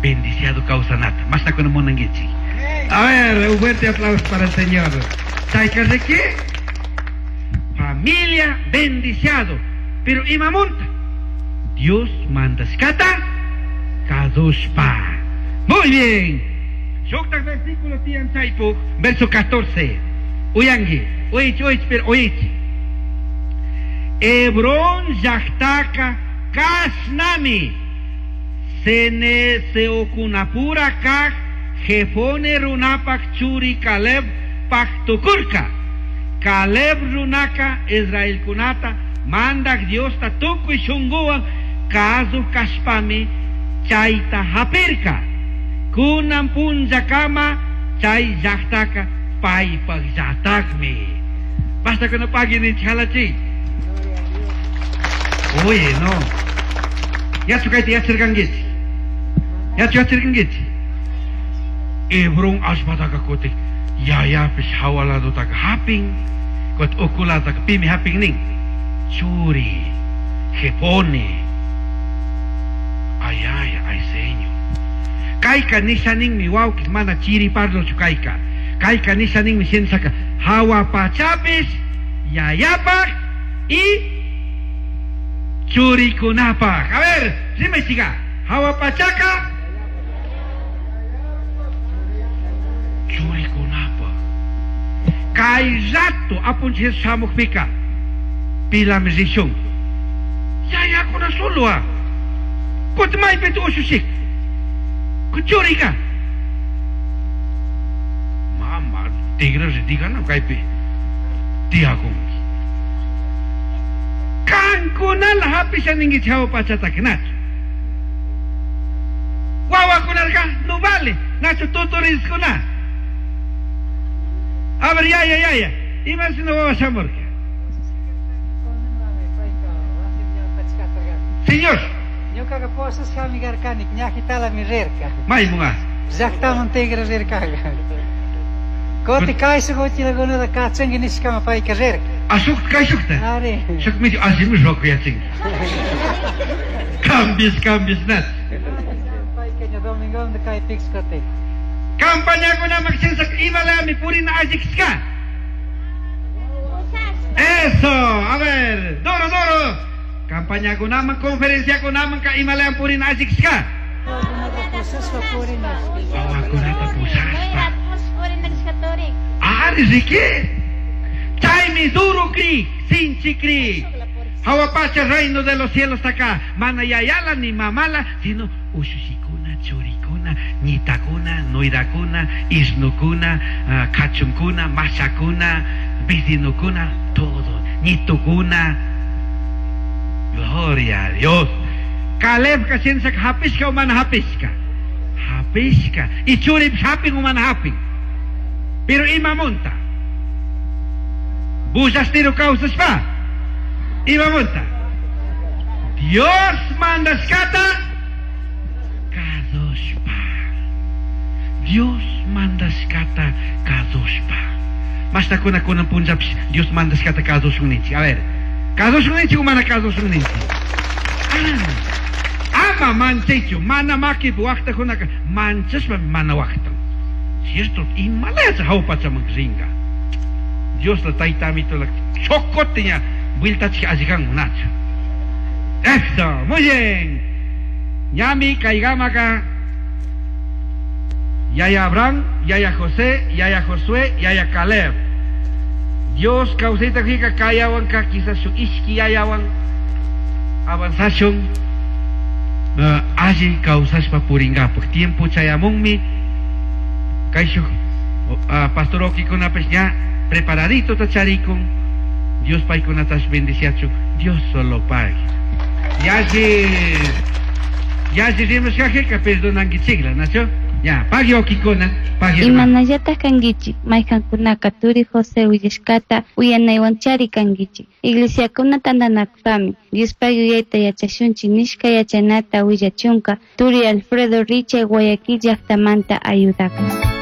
Bendiciado kawsanata. Mashtakuna munankichik. A ver, un fuerte aplauso para el Señor. Chayka riki? Familia bendiciado. Pero imamunta? Dios mandashkata kazushpa. Muy bien. Shuktak versículo tiyan chaypuk, verso 14. Uyangi, uyich, uyich, pero uyich. Hebrón llaktaka kashnami. Cenezeokunapura kaj Jefone runapak churi Caleb paktukurka. Caleb runaka Israelkunata mandak Diosta tukuy shunguwan kazuj kashpami chayta hapirka. Kunan punllakama chay llaktaka paypak llatakmi. Basta kuna pagui ninchik halachi. Oye, no. Yachu kayta yacharkankichik. Yachu yacharkankichik. Hebrón allpataka kutin yayapish hawa ladotaka hapin, kutin uku ladotaka pimi hapin nin. Churi, Jefone. Ay, ay, ay, Señor. Kayka nisha ninmi wawki mana chiri parlochu kayka. Kayka nisha ninmi shinshaka hawa pachapish yayapak y churikunapak. A ver, dime chica, hawa pachaka churikunapak. Kay rato apunchik shamukpika pilami rishun. Yayakuna solo ah. Kuti maypita ushushik. Churika. Mama, tigra ritigana kaypi tiyakunki. Kankunala hapisha ninkichik hawa pachataka nachu. Wawakunarka no vale, nachu tutoriskuna. A ver, yaya, yaya, imashina wawa shamurka. Señor. Ñukaqa posasqami karkani, ñajitalami rirka. Maymunqa. Llaqtaman tigra rirkaqa. Kuti kaysuq uchilakunata kachanki nishkama payka rirka. Ah, shuk kayshukta? Ari. Shuk medio allimi rukuyachinki. Cambies, cambies, nat. Payka ña domingomanta kaypikas kutin. Campañakunaman shinshaka imalami purina allikishka. Eso, a ver, duro, duro. Campañakunaman, conferenciakunaman ka imalayam purina allikishka. Wawakunata pushashpa. Ari riki. Chaymi duro kri, sinchi kri. Hawa pacha reino de los cielos acá. Mana yayala ni mamala, sino ushushikuna, churikuna, ñitakuna, nuirakuna, isnukuna, kachunkuna, mashakuna, vecinokuna, todo. Ñitukuna. Gloria a Dios. Caleb ka shinshaka hapishka o mana hapishka. Hapishka. Y churip hapin o mana hapin. Pero imamunta. Bullastiro kawsashpa. Imamunta. Dios mandashkata kazushpa. Dios mandashkata kazushpa. Mashtakuna kunan punllapish Dios mandashkata kazushun ninchik. A ver, kazushun ninchik o mana kazushun ninchik? Ah, ama manchaychu, mana makipi waqtakunaka manchashpa mana waqtan. Cierto, imalaya hawa pachaman ringa. Dios la tayta amito la chocote ña vueltachik allikan nachu. Eso, muy bien. Ñami kaygamaka Yaya Abraham, Yaya José, Yaya Josué, Yaya Caleb. Dios kawsayta hika kayawanka quizás su ishki yayawan avanzashun alli kawsashpa puringapak. Tiempo chayamunmi kayshuk pastor okikunapish ña preparadito tacharikun. Dios paykunatash bendiciachun. Dios solo pague. Yalli, yalli rimashkajika perdonankichikla, nacho? Ya, pagui okikuna, pagui hermano. Imanallataj kankichik, mayqankunaka turi José willashkata uyanaywanchari kankichik. Iglesiakuna tantanakushpami, Diospaq yuyayta yachashunchik nishka yachanata willachunka, turi Alfredo Richa Guayaquil llaktamanta ayudakun.